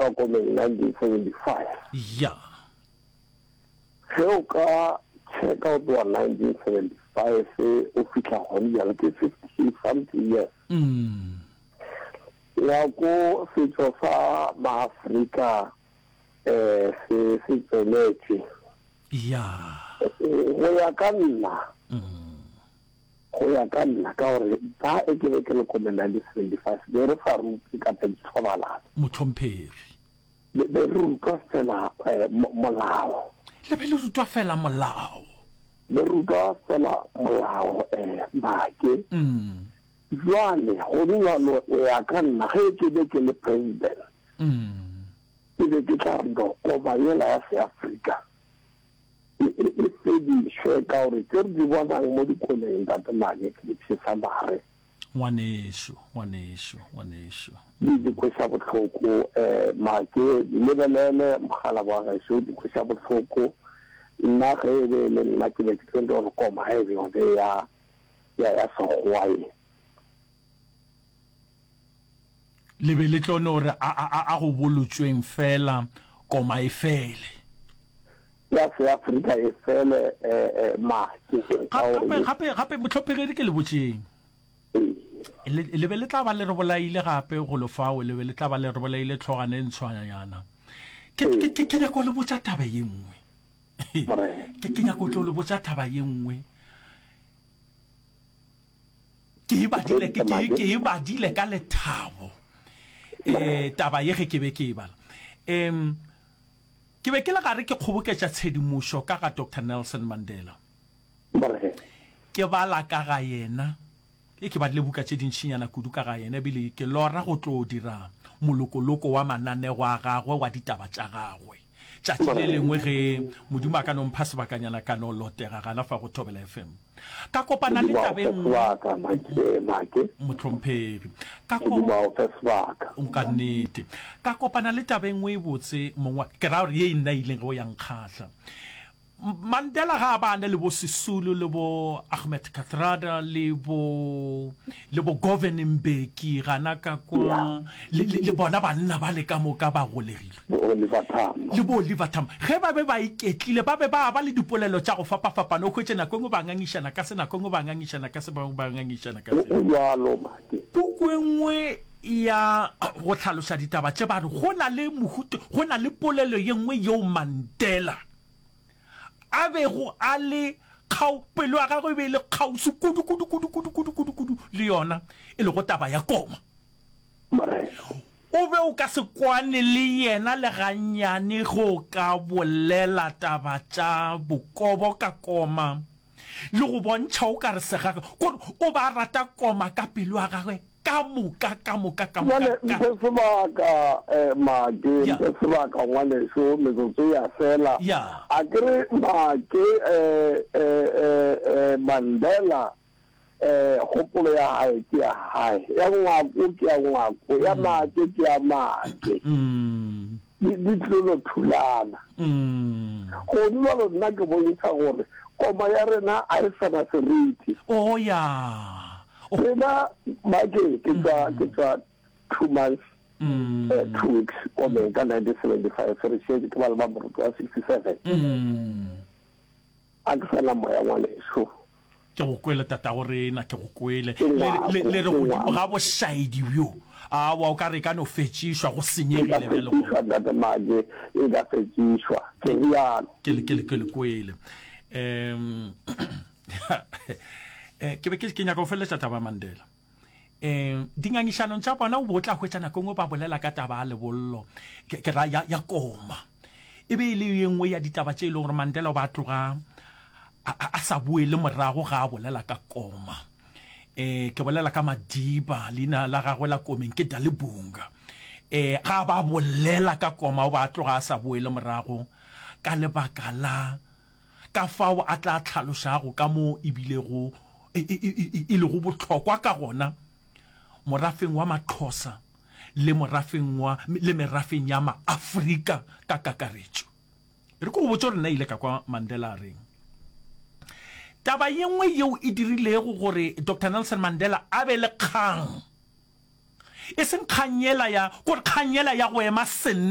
tloga komeng 1975. Ya. Ge o ka checka go tloga 1975 o fihla gone bjale ke 50 something years. Mm. Ngwako setšo sa Maafrika um se se tšweletše. Ya. Go ya ka nna, go ya ka nna, ka gore ba e ke be ke le komeng 1975 be re sa rutwe ka tša dithobalano. Mohlomphegi. Be be re rutwa fela molao. Le be le rutwa fela molao. Be rutwa fela molao, Make. Bjale, go bjalo, go ya ka nna, ge ke be ke le president, ke be ke tla re no koma yela ya Seafrika e, e, e fedišwe, ka gore tše re di bonang mo dikomeng, Ntate Make, ke di pshesa mare. Ngwanešu, ngwanešu, ngwanešu. Di, di kweša bohloko, eh, Make, di lebelele, mogala wa gešo, di kweša bohloko. Nna ge e be e le nna, ke be ke tlo no re koma e be yone ya, ya ya Sekgowa ye. Le be le tlo no re a, a, a, a go bolotšweng feela koma e fele. Ya Seafrika e fele, eh, eh, make, ka Gape, gore. gape, gape, mohlomphegi, e re ke le botšeng. Ee. Le, le be le tla ba le re bolaile gape golo fao, le be le tla ba le re bolaile tlhogana e ntshwanyana. Ke, ke, ke, ke nyaka go le botša taba ye nngwe. Morena. Ke, ke nyaka go tlo le botša taba ye nngwe. Ke e badile, ke, ke, ke e badile ka lethabo. Eh, taba ye ge ke be ke e bala. Em, ke be ke le gare ke kgoboketša tshedimošo ka ga Doctor Nelson Mandela. Morena. Ke bala ka ga yena. E, ke badile buka tše dintšinyana kudu ka ga yena, ebile ke lora go tlo dira molokoloko wa mananego a gagwe wa ditaba tša gagwe. Tšatši le lengwe ge Modimo a ka no mpha sebakanyana ka no lotega gana fa go Thobela FM. Ka kopana le Modimo a taba o e fe nngwe. sebaka, Make, Make. Mohlomphegi. Ka ko. Modimo a o fe sebaka. Ka nnete. Ka kopana le taba e nngwe e botse, mong wa ka. Ke ra gore ye e nna ileng go ya nkgahla. Mandela ga a ba a na le bo Sisulu le bo Ahmed Kathrada le bo le bo Govan Mbeki gana ka kwa le, le, le bona banna ba le ka moka ba golegilwe. Bo Oliver Tambo. Le bo Oliver Tambo. Ge ba be ba iketlile, ba be ba ba le dipolelo tša go fapafapana. O hwetše nako e nngwe ba ngangišana ka se, nako e nngwe ba ngangišana ka se, ba bangwe ba ngangišana ka se. Go bjalo, Maki. Puku e nngwe ya go hlaloša ditaba tše ba re go na le mohuta, go na le polelo ye nngwe yeo Mandela a bego a le kgau, pelo ya gagwe e be e le kgauswi kudu, kudu, kudu, kudu, kudu, kudu, kudu le yona, e lego taba ya koma. Morena. O be o ka se kwane le yena le gannyane ge o ka bolela taba tša bokobo ka koma, le go bontšha o ka re segage, kore o be a rata koma ka pelo ya gagwe Ka moka, ka moka, ka moka, Bjale ka. mphe sebaka, eh, Make, Ya. mphe sebaka, ngwaneso, metsotso e a fela. Ya. A ke re, Make, eh, eh, eh, eh, Mandela, eh, kgopolo ya hae ke ya hae, ya ngwako ke ya ngwako, ya Make ke ya Make. Mm. Di, di tlo no thulana. Mm. Go bjalo nna ke bontšha gore koma ya rena a e sa na seriti. Oh, ya. Oh. Rena, Make, ke tšwa, ke tšwa two months, Mm. eh, two weeks komeng ka 1975, re šetše ke ba le ba moruti wa 67. Mm. A ke sa na moya ngwaneso. Ke go kwele tatago rena, ke go kwele. Ke Le, ngwako, le, le re ke godimo ngwako. ga bošaedi bjo. Aowa, o ka re e ka no fetšišwa, go E ka senyegile bjale gona. fetšišwa, Ntate Make, e ka fetšišwa. Ke rialo. Ke le, ke le, ke le kwele. Um, eh, ke be ke, ke nyaka go feleletša taba ya Mandela. Um, dingangišanong tša bona o be o tla hwetša nako e nngwe ba bolela ka taba ya lebollo, ke, ke ra ya, ya koma. E be e le ye nngwe ya ditaba tše e lego gore Mandela o ba tloga a, a, a sa boele morago ga a bolela ka koma. Um, ke bolela ka Madiba, leina la gagwe la komeng ke Dalibunga. Um, ga ba bolela ka koma o ba tloga a sa boele morago ka lebaka la ka fao a tla hlalošago ka mo e bilego e, e, e, e lego bohlokwa ka gona morafeng wa Maxhosa le morafeng wa, le merafeng ya Maafrika ka kakaretšo. E re ke go botše gore nna ile ka kwa Mandela a reng. Taba ye nngwe yeo e dirilego gore Doctor Nelson Mandela a be le kgang, e seng kgang yela ya, kore kgang yela ya go ema senna.